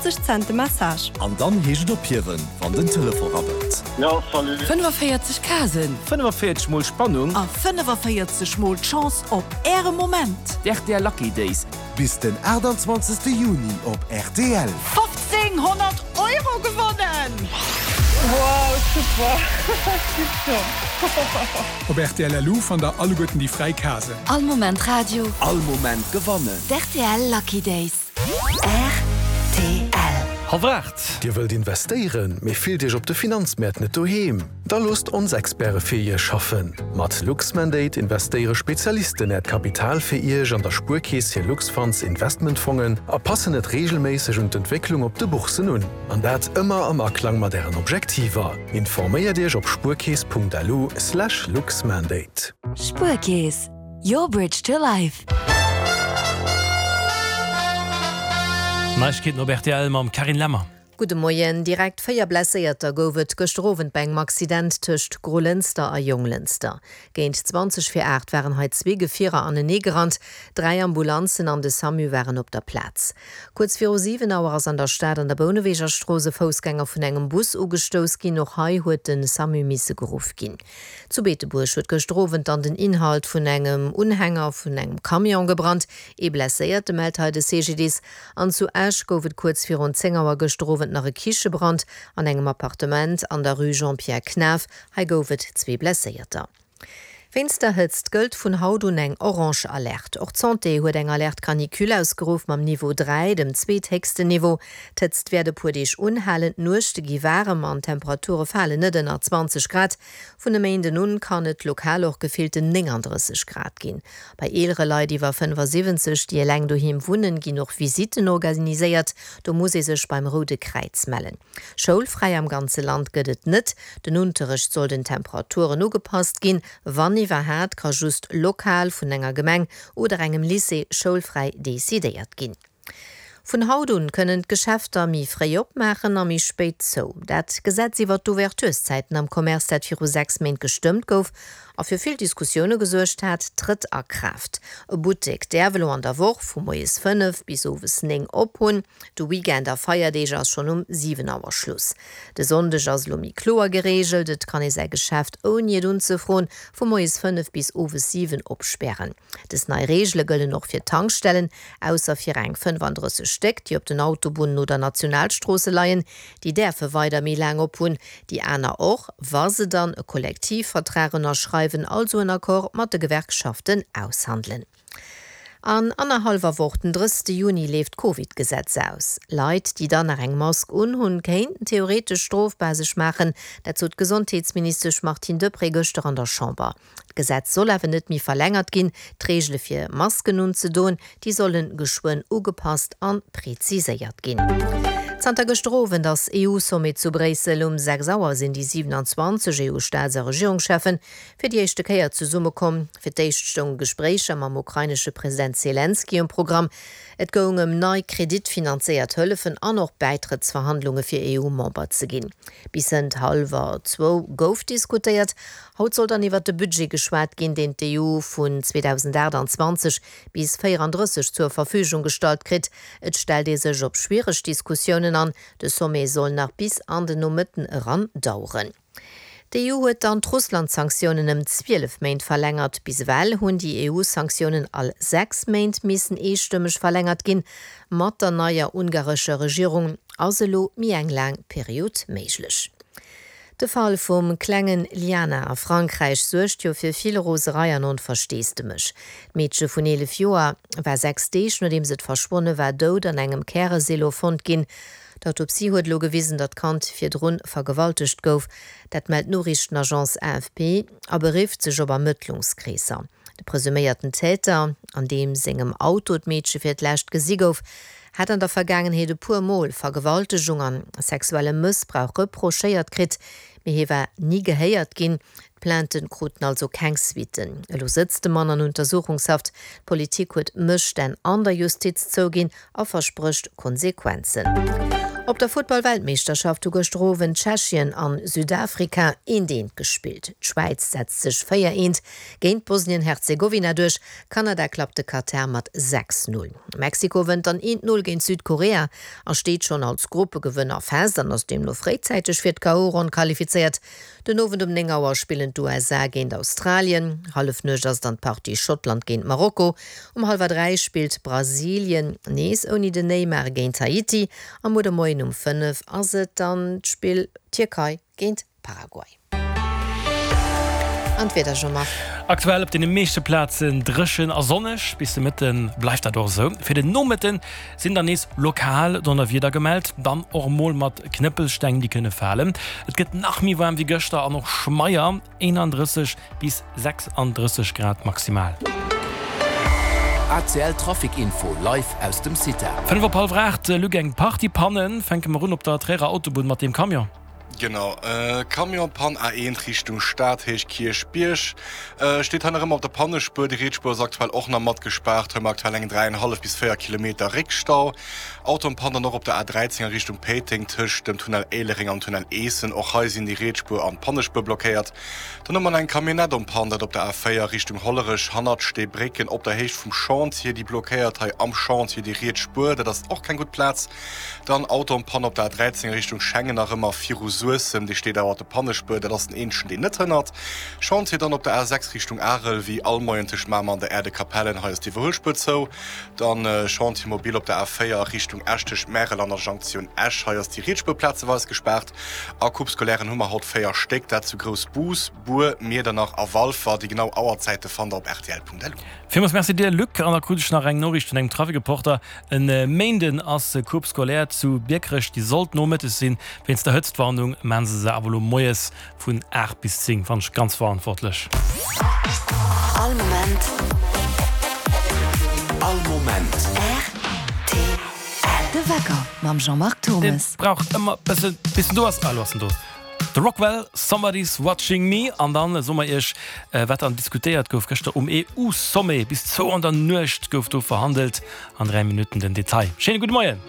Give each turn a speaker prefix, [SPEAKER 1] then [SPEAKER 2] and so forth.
[SPEAKER 1] 50 Cent de Massage.
[SPEAKER 2] An dann heescht et ophiewen, wann den Telefon rabbelt.
[SPEAKER 3] Jo, salut.
[SPEAKER 4] 45 Casen.
[SPEAKER 5] 45 mol Spannung.
[SPEAKER 4] A 45 mol d'Chance op Äre Moment.
[SPEAKER 5] D'RTL Lucky Days.
[SPEAKER 6] Bis den 28 Juni op rtl.
[SPEAKER 4] 1500 Euro gewonnen!
[SPEAKER 7] Wow super, tiptop!
[SPEAKER 8] Op rtl LU fannt der alleguerten déi fräi Casen.
[SPEAKER 9] All Moment Radio.
[SPEAKER 2] All Moment gewannen.
[SPEAKER 9] D'RTL Lucky Days. Rtl.
[SPEAKER 5] Halwer 8.
[SPEAKER 10] Dir wëllt investéieren, mee fillt Iech op de Finanzmäert net doheem? Da loosst ons Experte fir Iech schaffen! Mat Luxmandate investéiere Spezialisten Äert Kapital fir Iech an der Spuerkeess hir Luxfunds Investmentfongen a passen et reegelméisseg un d'Entwécklung op de Bourssen un. An dat ëmmer am Aklang mat Ären Objektiver. Informéiert Iech op spuerkeess.lu/luxmandate.
[SPEAKER 9] Spuerkeess, Your bridge to life.
[SPEAKER 5] Neiegkeeten op rtl mam Carine Lemmer.
[SPEAKER 11] Gudde Moien. Direkt 4 Blesséierter gouf et gëschter Owend bei engem Accident tëscht Grolënster a Jonglënster. Géint 20 vir 8 waren hei zwee Gefierer anenee gerannt. Dräi Ambulanzen an de Samu waren op der Plaz. Kuerz viru 7 Auer ass an der Stad an der Bouneweger Strooss e Foussgänger vun engem Bus ugestouss ginn. Och hei huet de Samu misse geruff ginn. Zu Beetebuerg huet gëschter Owend dann den Inhalt vun engem Unhänger vun engem Camion gebrannt. Ee Blesséierte mellt hei de CGDIS. An zu Esch gouf et kuerz virun 10 Auer gëschter Owend nach e Kichebrand an engem Appartement an der Rue Jean-Pierre Knaff. Hei gouf et zwee Blesséierter. Wéinst der Hëtzt gëllt vun haut un eng orange Alerte. Och d'Santé huet eng Alerte canicule ausgeruff mam Niveau 3, dem zweethéchsten Niveau. D'Hëtzt wäert e puer Deeg unhalen, d'Nuechte gi waarem an d'Temperature falen net ënner 20 Grad. Vun e Méinden un kann et lokal och gefillten 39 Grad ginn. Bei eelere Leit iwwer 75, déi eleng doheem wunnen, ginn och Visitten organiséiert. Do muss ee sech beim Roude Kräiz mellen. Schoulfräi am ganze Land gëtt et net. Den Unterrecht soll den Temperaturen ugepasst ginn. Wann iwwerhaat, ka just lokal vun enger Gemeng oder engem Lycée schoulfräi decidéiert ginn. Vun haut un kënnen d'Geschäfter méi fréi opmaachen a méi spéit zou. Dat Gesetz iwwer d'Ouvertureszäiten am Commerce, dat viru 6 Méint gestëmmt gouf a fir vill Diskussioune gesuergt hat, trëtt a Kraaft. E Buttek däerf elo an der Woch vu moies 5 bis owes 9 op hunn. De Weekend a Feierdeeg ass schonn um 7 Auer Schluss. De Sonndeg ass elo méi kloer gereegelt, et kann ee säi Geschäft ouni et unzefroen vu moies 5 bis owes 7 opspären. Des nei Reegele gëllen och fir Tankstellen, ausser fir eng 35 Stéck, déi op den Autobunnen oder Nationalstroosse leien. Déi däerfe weider méi laang op hunn, déi aner och, wa se dann e Kollektivvertrag ënnerschreiwen, also en Accord mat de Gewerkschaften aushandelen. An annerhallwer Woch, den 30 Juni, leeft d'Covid-Gesetz aus. Leit, déi dann nach eng Mask unhunn, kéinten theoretesch strofbar sech maachen. Dat sot d'Gesondheetsministesch Martine Deprez gëschter an der Chamber. D'Gesetz soll awer net méi verlängert ginn. D'Reegele fir Masken unzedoen, déi solle geschwënn ugepasst an preziséiert ginn. Zanter gëschter Owend ass EU-Sommet zu Bréissel. Um 6 Auer sinn déi 27 EU-Staats a Regierungscheffen fir déi éischte Kéier zesummekomm. Fir d'éischt stounge Gespréicher mam ukrainesche President Selenskyj um Programm. Et goung ëm nei kreditfinanzéiert Hëllefen an och Bäitrëttsverhandlunge fir EU-Member ze ginn. Bis hënt hallwer zwou gouf diskutéiert. Haut soll dann iwwert de Budget geschwat ginn, deen d'EU vun 2028 bis 34 zur Verfügung gestallt kritt. Et stellt ee sech op schwiereg Diskussiounen an. De Sommet soll nach bis an den Nomëtten eran daueren. D'EU huet dann d'Russland-Sanktiounen ëm 12 Méint verlängert. Bis ewell hunn déi EU-Sanktiounen all 6 Méint missen eestëmmeg verlängert ginn. Mat der neier ungarescher Regierung ass elo méi eng laang Period méiglech. De Fall vum klengen Liana a Frankräich suergt jo fir vill Roserei an Onversteesdemech. D'Meedche vun 11 Joer war 6 Deeg nodeems et verschwonne war dout an engem Käresilo fonnt ginn. D'Autopsie huet elo gewisen, datt d'Kand virdrun vergewaltegt gouf. Dat mellt d'Noriichtenagence AFP a berifft sech op Ermëttlungskreesser. De presuméierten Täter, an deem sengem Auto d'Meedche fir d'lescht gesi gouf, hat an der Vergaangenheet e puer Mol Vergewaltegung an sexuelle Mëssbrauch reprochéiert kritt, mee hie war ni gehéiert ginn. D'Plainten kruten also keng Suitten. Elo sëtzt de Mann an Untersuchungshaft. D'Politik huet Mësstänn an der Justiz zouginn a versprécht Konsequenzen. Op der Futtball-Weltmeeschterschaft hu gëschter Owend Tschechien an Südafrika eent eent gespillt. D'Schwäiz setzt sech 4 eent géint Bosnien-Herzegowina duerch, Kanada klappt de Katar mat 6, 0. Mexiko wënnt dann eent 0 géint Südkorea a steet schonn als Gruppegewënner fest an ass deemno fréizäiteg fir d'KO-Ronn qualifizéiert. Den Owend um 9 Auer spillen d'USA géint Australien, Hallefnuecht ass dann d'Partie Schottland géint Marokko. Um hallwer 3 spillt Brasilien, nees ouni den Neymar, géint Haiti a muer de Moien um 5 ass et dann d'Spill Tierkei géint Paraguay. An d'Wieder, Jean-Marc?
[SPEAKER 5] Aktuell op deene meeschte Plazen dréchen a sonneg, bis de Mëtte bleift dat och esou. Fir den Nomëtte sinn dann nees lokal Donnerwieder gemellt, dann och mol mat Knëppelsteng, déi kënne falen. Et gëtt nach méi waarm wéi gëschter an och schmeier, 31 bis 36 Grad maximal.
[SPEAKER 2] ACL Trafic Info live aus dem CITA.
[SPEAKER 5] 5 op hallwer 8, Luc, eng Partie Pannen. Fänke mer un op der Tréierer Autobunn mat deem Camion.
[SPEAKER 1] Genau, Camion-Pann A1 Richtung Stad, Héicht Kierchbierg. Steet hei nach ëmmer op der Pannespuer. Déi riets Spuer ass aktuell och nach mat gespaart. Hei hu mer aktuell eng 3,5 bis 4 Kilometer Réckstau. Auto en Panne dann och op der A13 a Richtung Péiteng tëscht dem Tunnel Éilereng an Tunnel Eessen. Och hei sinn déi riets Spuer an d'Pannespuer blockéiert. Dann hu mer nach eng Camionnette en Panne, dat op der A4 Richtung Hollerech hannert Steebrécken op der Héicht vum Chantier. Déi blockéiert hei am Chantier déi riets Spuer. Dat ass och keng gutt Plaz. Dann Auto en Panne op der A13 a Richtung Schengen, nach ëmmer viru Suessem, dee steet awer op der Pannespuer, dat ass den eenzegen deen net hënnert. Chantier dann op der A6 Richtung Arel, wéi all Moien tëscht Mamer an der Aire de Capellen, hei ass d'Iwwerhuelspuer zou. Dann Chantier mobile op der A4 a Richtung Esch tëscht Märel an der Jonktioun Esch, hei ass déi riets Spuer plazeweis gespaart. A Coupe Scolairen hu mer haut 4 Stéck, dat zu Groussbus, Bur, Miedernach a Walfer. Déi genau Auerzäite fannt der op rtl.lu.
[SPEAKER 5] Villmools Merci dir Luc. An da krut ech nach eng Noriicht vun engem Trafikreporter. E Méinden ass Coupe scolaire zu Biekerech, déi sollt nomëttes sinn. Wéinst der Hëtztwarnung maan se se awer elo moies vun 8 bis 10. Fannen ech ganz verantwortlech.
[SPEAKER 9] All Moment.
[SPEAKER 2] All Moment.
[SPEAKER 9] Rtl. De Wecker mam Jean-Marc
[SPEAKER 5] Deen
[SPEAKER 9] Thomes.
[SPEAKER 5] brauch ëmmer bëssen bis en do ass. Ah, elo ass en do. The Rockwell, Somebody's Watching Me. An dann soe mer iech, wat dann diskutéiert gouf gëschter um EU-Sommet. Bis zwou an der Nuecht gouf do verhandelt. An 3 Minutten den Detail. Schéine gudde Moien.